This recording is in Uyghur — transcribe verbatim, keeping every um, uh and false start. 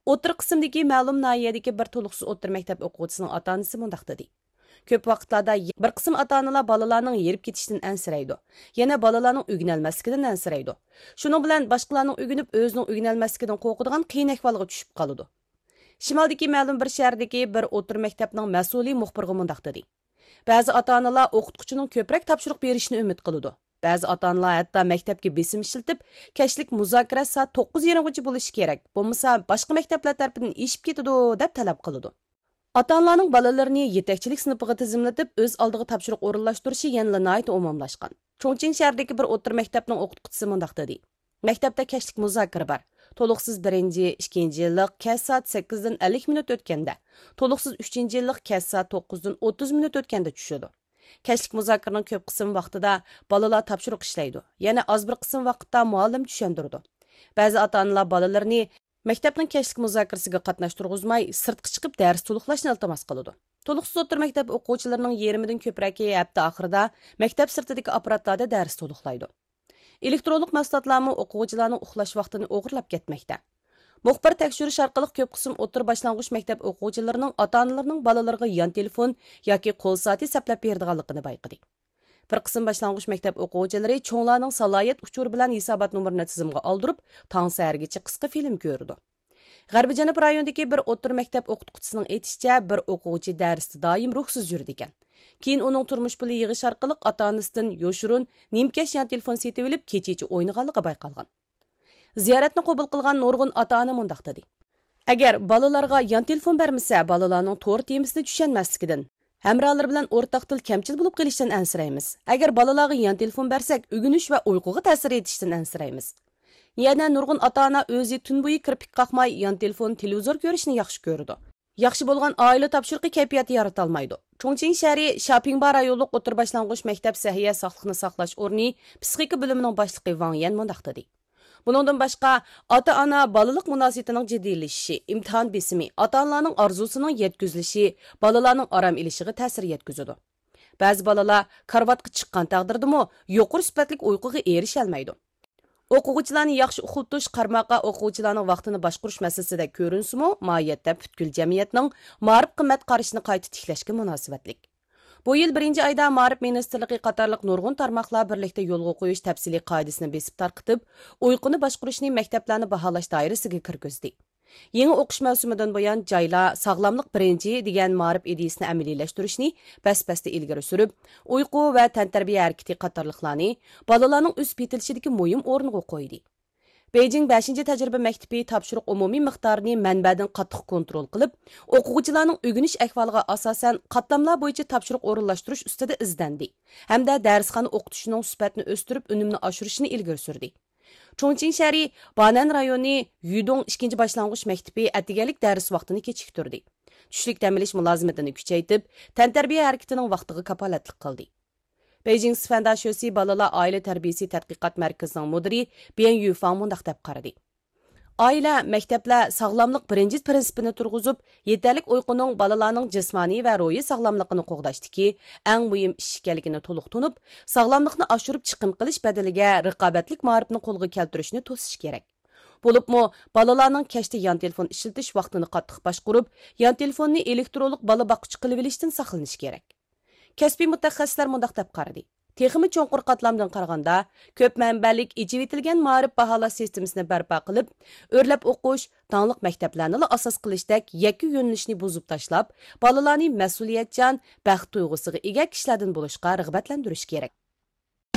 ئوتتۇرا قىسىمدىكى مەلۇم ناھىيەدىكى بىر تولۇقسىز ئوتتۇرا مەكتەپ ئوقۇغۇچىسىنىڭ ئاتا ئانىسى مۇنداق دېدى: كۆپ ۋاقىتلاردا بىر قىسىم ئاتا ئانىلار بالىلارنىڭ ھېرىپ كېتىشىدىن ئەنسىرەيدۇ، يەنە بالىلارنىڭ ئۆگىنەلمەسلىكىدىن ئەنسىرەيدۇ. شۇنىڭ بىلەن باشقىلارنىڭ ئۆگىنىپ ئۆزىنىڭ ئۆگىنەلمەسلىكىدىن قورقىدىغان قىيىن ئەھۋالغا چۈشۈپ قالىدۇ. شىمالدىكى مەلۇم بىر شەھەردىكى بىر ئوتتۇرا مەكتەپنىڭ مەسئۇلى مۇخبىرغا مۇنداق دېدى: بەزى ئاتا ئانىلار ئوقۇتقۇچىنىڭ كۆپرەك تاپشۇرۇق بېرىشىنى ئۈمىد قىلىدۇ. بەزى ئاتا ئانىلار ھەتتا مەكتەپكە بېسىم ئىشلىتىپ، كەچلىك مۇزاكىرە سائەت توققۇز يېرىمغىچە بولۇشى كېرەك، بولمىسا باشقا مەكتەپلەر تەرىپىدىن ئېشىپ كېتىدۇ، دەپ تەلەپ قىلىدۇ. ئاتا ئانىلارنىڭ بالىلىرىنى يېتەكچىلىك سىنىپىغا تىزىملىتىپ، ئۆز ئالدىغا تاپشۇرۇق ئورۇنلاشتۇرۇشى يەنىلا ناھايىتى ئومۇملاشقان. چۇڭچىڭ شەھىرىدىكى بىر ئوتتۇرا مەكتەپنىڭ ئوقۇتقۇچىسى مۇنداق دېدى: مەكتەپتە كەچلىك مۇزاكىرە بار. تولۇقسىز بىرىنچى، ئىككىنچى يىللىق كەچ سائەت سەككىزدىن ئەللىك مىنۇت ئۆتكەندە، تولۇقسىز ئۈچىنچى يىللىق كەچ سائەت توققۇزدىن ئوتتۇز مىنۇت ئۆتكەندە چۈشىدۇ. كەچلىك مۇزاكىرىنىڭ كۆپ قىسىم ۋاقتىدا بالىلار تاپشۇرۇق ئىشلەيدۇ، يەنە ئاز بىر قىسىم ۋاقىتتا مۇئەللىم چۈشەندۈرىدۇ. بەزى ئاتا ئانىلار بالىلىرىنى مەكتەپنىڭ كەچلىك مۇزاكىرىسىگە قاتناشتۇرغۇزماي، سىرتقا چىقىپ دەرس تولۇقلاشنى ئىلتىماس قىلىدۇ. تولۇقسىز ئوتتۇرا مەكتەپ ئوقۇغۇچىلىرىنىڭ يېرىمىدىن كۆپرەكى ھەپتە ئاخىرىدا مەكتەپ سىرتىدىكى ئاپپاراتلاردا دەرس تولۇقلايدۇ. ئېلېكترونلۇق مەھسۇلاتلارمۇ ئوقۇغۇچىلارنىڭ ئۇخلاش ۋاقتىنى ئوغرىلاپ كەتمەكتە. مۇخبىر تەكشۈرۈش ئارقىلىق كۆپ قىسىم ئوتتۇرا باشلانغۇچ مەكتەپ ئوقۇغۇچىلىرىنىڭ ئاتا ئانىلىرىنىڭ بالىلىرىغا يان تېلېفون ياكى قول سائىتى سەپلەپ بېرىدىغانلىقىنى بايقىدى. بىر قىسىم باشلانغۇچ مەكتەپ ئوقۇغۇچىلىرى چوڭلارنىڭ سالاھىيەت ئۇچۇرى بىلەن ھېسابات نومۇرىنى تىزىمغا ئالدۇرۇپ، تاڭ سەھەرگىچە قىسقا فىلىم كۆرىدۇ. غەربىي جەنۇب رايونىدىكى بىر ئوتتۇرا مەكتەپ ئوقۇتقۇچىسىنىڭ ئېيتىشىچە، بىر ئوقۇغۇچى دەرستە دائىم روھسىز يۈرىدىكەن. كېيىن ئۇنىڭ تۇرمۇش پۇلى يىغىش ئارقىلىق ئاتا ئانىسىدىن يوشۇرۇن نېمە كەش يان تېلېفون سېتىۋېلىپ، كېچىچە ئوينىغانلىقى بايقالغان. زىيارەتنى قوبۇل قىلغان نۇرغۇن ئاتا ئانا مۇنداق دېدى: ئەگەر بالىلارغا يان تېلېفون بەرمىسە، بالىلارنىڭ تور تېمىسىنى چۈشەنمەسلىكىدىن، ھەمراھلىرى بىلەن ئورتاق تىل كەمچىل بولۇپ قېلىشتىن ئەنسىرەيمىز. ئەگەر بالىلارغا يان تېلېفون بەرسەك، ئۆگىنىش ۋە ئۇيقۇغا تەسىر يېتىشتىن ئەنسىرەيمىز. يەنە نۇرغۇن ئاتا ئانا ئۆزى تۈن بويى كىرپىك قاقماي، يان تېلېفون، تېلېۋىزور كۆرۈشنى ياخشى كۆرىدۇ. ياخشى بولغان ئائىلە تاپشۇرۇقى كەيپىياتى يارىتالمايدۇ. چۇڭچىڭ شەھىرى شياپىڭبا رايونلۇق ئوتتۇرا باشلانغۇچ مەكتەپ سەھىيە ساقلىقنى ساقلاش ئورنى پسىخىكا بۆلۈمىنىڭ باشلىقى ۋاڭ يەن مۇنداق دېدى: بۇنىڭدىن باشقا، ئاتا ئانا بالىلىق مۇناسىۋىتىنىڭ جىددىيلىشىشى، ئىمتىھان بېسىمى، ئاتا ئانىلارنىڭ ئارزۇسىنىڭ يەتكۈزۈلۈشى بالىلارنىڭ ئارام ئېلىشىغا تەسىر يەتكۈزىدۇ. بەزى بالىلار كارىۋاتقا چىققان تەقدىردىمۇ يۇقىرى سۈپەتلىك ئۇيقۇغا ئېرىشەلمەيدۇ. ئوقۇغۇچىلارنى ياخشى ئۇخلىتىش، قارىماققا ئوقۇغۇچىلارنىڭ ۋاقتىنى باشقۇرۇش مەسىلىسىدەك كۆرۈنسىمۇ، ماھىيەتتە پۈتكۈل جەمئىيەتنىڭ مائارىپ قىممەت قارىشىنى قايتا تىكلەشكە مۇناسىۋەتلىك. بۇ يىل بىرىنچى ئايدا مائارىپ مىنىستىرلىقى قاتارلىق نۇرغۇن تارماقلار بىرلىكتە يولغا قويۇش تەپسىلىي قائىدىسىنى بېسىپ تارقىتىپ، ئۇيقۇنى باشقۇرۇشنى مەكتەپلەرنى باھالاش دائىرىسىگە كىرگۈزدى. يېڭى ئوقۇش مەۋسۇمىدىن بۇيان، جايلار ساغلاملىق بىرىنچى دېگەن مائارىپ ئىدىيىسىنى ئەمەلىيلەشتۈرۈشنى بەس-بەستە ئىلگىرى سۈرۈپ، ئۇيقۇ ۋە تەنتەربىيە ھەرىكىتى قاتارلىقلارنى بالىلارنىڭ ئۆسۈپ يېتىلىشىدىكى مۇھىم ئورۇنغا قويدى. بېيجىڭ بەشىنچى تەجرىبە مەكتىپى تاپشۇرۇق ئومۇمىي مىقدارىنى مەنبەدىن قاتتىق كونترول قىلىپ، ئوقۇغۇچىلارنىڭ ئۆگىنىش ئەھۋالىغا ئاساسەن قاتلاملار بويىچە تاپشۇرۇق ئورۇنلاشتۇرۇش ئۈستىدە ئىزدەندى ھەمدە دەرسخانا ئوقۇتۇشىنىڭ سۈپەتىنى ئۆستۈرۈپ، ئۈنۈمنى ئاشۇرۇشنى ئىلگىرى سۈردى. چۇڭچىڭ شەھىرى بانەن رايونى يۈدۇڭ ئىككىنچى باشلانغۇچ مەكتىپى ئەتىگەنلىك دەرس ۋاقتىنى كېچىكتۈردى. چۈشلۈك دەم ئېلىش مۇلازىمىتىنى كۈچەيتىپ، تەنتەربىيە ھەرىكىتىنىڭ ۋاقتىغا كاپالەتلىك قىلدى. بېيجىڭ سىفەنداشۆسى بالىلار ئائىلە تەربىيىسى تەتقىقات مەركىزىنىڭ مۇدىرى بيەن يۈفاڭ مۇنداق دەپ قارىدى: ئائىلە، مەكتەپلەر ساغلاملىق بىرىنچى پىرىنسىپىنى تۇرغۇزۇپ، يېتەرلىك ئۇيقۇنىڭ بالىلارنىڭ جىسمانىي ۋە روھىي ساغلاملىقىنى قوغداشتىكى ئەڭ مۇھىم ئىش ئىكەنلىكىنى تولۇق تونۇپ، ساغلاملىقنى ئاشۇرۇپ چىقىم قىلىش بەدىلىگە رىقابەتلىك مائارىپنى قولغا كەلتۈرۈشنى توسۇش كېرەك. بولۇپمۇ بالىلارنىڭ كەچتە يان تېلېفون ئىشلىتىش ۋاقتىنى قاتتىق باشقۇرۇپ، يان تېلېفوننى ئېلېكترونلۇق بالا باققۇچى قىلىۋېلىشتىن ساقلىنىش كېرەك. كەسپىي مۇتەخەسسىسلەر مۇنداق دەپ قارىدى: تېخىمۇ چوڭقۇر قاتلامدىن قارىغاندا، كۆپ مەنبەلىك ئېچىۋېتىلگەن مائارىپ باھالاش سىستېمىسىنى بەرپا قىلىپ، ئۆرلەپ ئوقۇش، داڭلىق مەكتەپلەرنىلا ئاساس قىلىشتەك يەككە يۆنىلىشنى بۇزۇپ تاشلاپ، بالىلارنى مەسئۇلىيەتچان، بەخت تۇيغۇسىغا ئىگە كىشىلەردىن بولۇشقا رىغبەتلەندۈرۈش كېرەك.